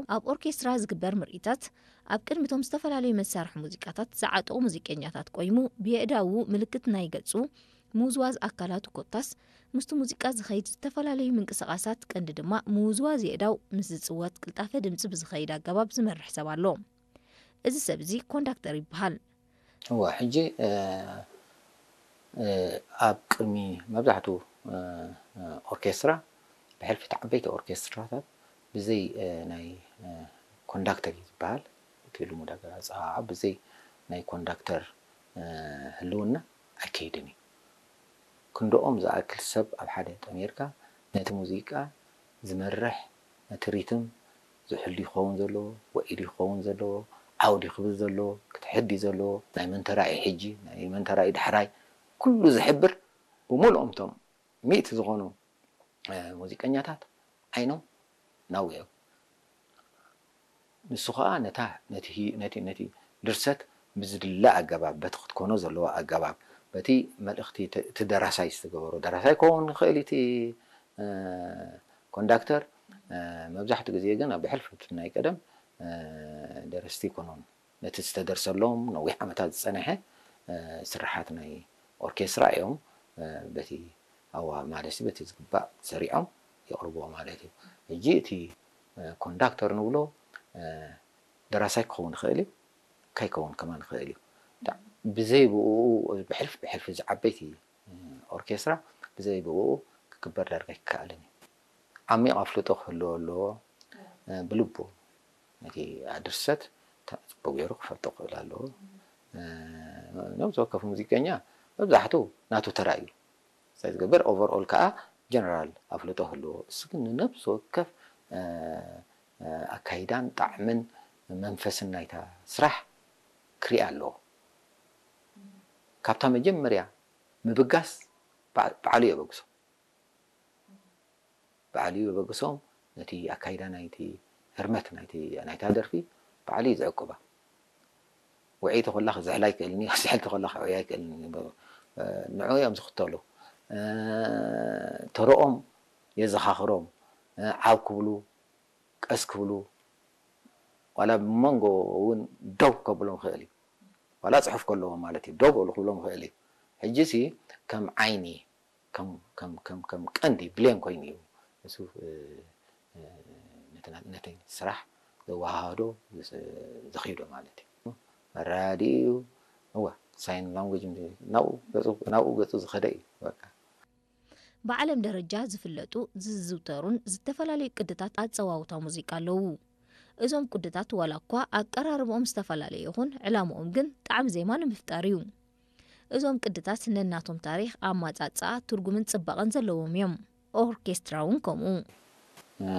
ኣብ ኦርኬስትራ ዝግበር ምርኢታት ኣብ ቅድሚቶም ዝተፈላለዩ መሳርሒ ሙዚቃታት ዝዓጠቑ ሙዚቀኛታት ቆይሙ ብየእዳዉ ምልክት ናይ ገጹ ምውዝዋዝ ኣካላቱ ኮታስ ምስቲ ሙዚቃ ዝኸይድ ዝተፈላለዩ ምንቅስቓሳት ቀንዲ ድማ ምውዝዋዝ የእዳው ምስ ዝጽወት ቅልጣፈ ድምጺ ብዝኸይድ ኣገባብ ዝመርሕ ሰብ ኣሎ። እዚ ሰብ እዚ ኮንዳክተር ይበሃል። እወ፣ ሕጂ፣ እ፣ እ፣ ኣብ ቅድሚ መብዛሕትኡ፣ እ፣ እ፣ ኦርኬስትራ፣ ብሕልፊ እቲ ዓበይቲ ኦርኬስትራታት ብዘይ፣ እ፣ ናይ፣ እ፣ ኮንዳክተር እዩ ዝበሃል። እቲ ልሙድ ኣገላልጻ ብዘይ ናይ ኮንዳክተር፣ እ፣ ህልውና ኣይከይድን እዩ። ክንድኦም ዝኣክል ሰብ ኣብ ሓደ ጠሚርካ ነቲ ሙዚቃ ዝመርሕ፣ ነቲ ሪትም ዝሕሉ ይኸውን ዘለዎ፣ ወዒሉ ይኸውን ዘለዎ፣ ዓውዲ ክብል ዘለዎ፣ ክትሕዲ ዘለዎ፣ ናይ መን ተራእዩ ሕጂ፣ ናይ መን ተራእዩ ዳሕራይ፣ ኩሉ ዝሕብር ብምልኦም እቶም ሚእቲ ዝኾኑ፣ እ፣ ሙዚቀኛታት ዓይኖም ናብኡ እዮም። ንሱ ኸኣ ነታ፣ ነቲ ሂ-፣ ነቲ፣ ነቲ ድርሰት ብዝድለ ኣገባብ፣ በቲ ክትኮኖ ዘለዎ ኣገባብ፣ በቲ መልእኽቲ እቲ፣ እቲ ደራሳይ ዝተገበሮ፣ ደራሳይ ክኸውን ይኽእል እዩ እቲ፣ እ፣ ኮንዳክተር። እ፣ መብዛሕትኡ ግዜ ግን ኣብ ብሕልፊ እቲ ናይ ቀደም፣ እ፣ ደረስቲ ኣይኮኑን። ነቲ ዝተደርሰሎም ነዊሕ ዓመታት ዝጸንሐ፣ እ፣ ስርሓት ናይ ኦርኬስትራ እዮም። እ፣ በቲ ኣዋ-፣ ማለት በቲ ዝግባእ ሰሪዖም የቕርብዎ ማለት እዩ። ሕጂ እቲ፣ እ፣ ኮንዳክተር ንብሎ፣ እ፣ ደራሳይ ክኸውን ይኽእል እዩ፣ ከይከውን ከማን ይኽእል እዩ። ብዘይ ብኡ ብሕልፊ ብሕልፊ እዚ ዓበይቲ፣ እ፣ ኦርኬስትራ ብዘይ ብኡ ክግበር ዳርጋ ኣይከኣልን እዩ። ዓሚቕ ኣፍልጦ ክህልዎ ኣለዎ። እ፣ ብልቡ ነቲ ድርሰት ተ-፣ ጽቡቕ ገይሩ ክፈልጦ ክኽእል ኣለዎ። እ፣ ነብሲ ወከፍ ሙዚቀኛ መብዛሕትኡ ናቱ ተራ እዩ ዝገብር። ኦቨርኦል ከኣ ጀነራል ኣፍልጦ ክህልዎ። እሱ ግን ንነብሲ ወከፍ፣ እ፣ እ፣ ኣካይዳን ጣዕምን መንፈስን ናይታ ስራሕ ክርኢ ኣለዎ። ካብታ መጀመርያ ምብጋስ በዓ-፣ ባዕሉ የበግሶ። ባዕሉ እዩ በግሶም። ነቲ ኣካይዳ ናይቲ ህርመት ናይቲ፣ ናይታ ደርፊ ባዕሉ እዩ ዝዕቅባ። ውዕይቲ ኮላ ክዝሕላ ኣይክእልን እዩ፣ ስሕልቲ ኮላ ክዕብያ ኣይክእልን እዩ። ንዑ እዮም ዝኽተሉ። እ፣ ተረኦም የዘኻኽሮም። እ፣ ዓው ክብሉ፣ ቀስ ክብሉ፣ ዋላ ብመንጎ እውን ደው ከብሎም ይኽእል እዩ። ዋላ ጽሑፍ ከለዎም ማለት እዩ፣ ደው በሉ ክብሎም ይኽእል እዩ። ሕጂሲ ከም ዓይኒ፣ ከም፣ ከም፣ ከም፣ ከም ቀንዲ ብሌን ኮይኑ እዩ። እሱ፣ እ፣ እ፣ ነቲ ና-፣ ነቲ ስራሕ ዘወሃሃዶ፣ ዘ-፣ ዘኽይዶ ማለት እዩ። መረዳድኢ እዩ። እወ፣ ሳይን ላንጉጅ ናብኡ ገጹ፣ ናብኡ ገጹ ዝኸደ እዩ በቃ። ብዓለም ደረጃ ዝፍለጡ፣ ዝዝውተሩን ዝተፈላለዩ ቅድታት ኣጸዋውታ ሙዚቃ ኣለዉ። እዞም ቅድታት ዋላ እኳ ኣቀራርባኦም ዝተፈላለየ ይኹን፣ ዕላምኦም ግን ጣዕሚ ዜማ ንምፍጣር እዩ። እዞም ቅድታት ነናቶም ታሪኽ፣ ኣማጻጽኣ፣ ትርጉምን ጽባቐን ዘለዎም እዮም። ኦርኬስትራ እውን ከምኡ። እ፣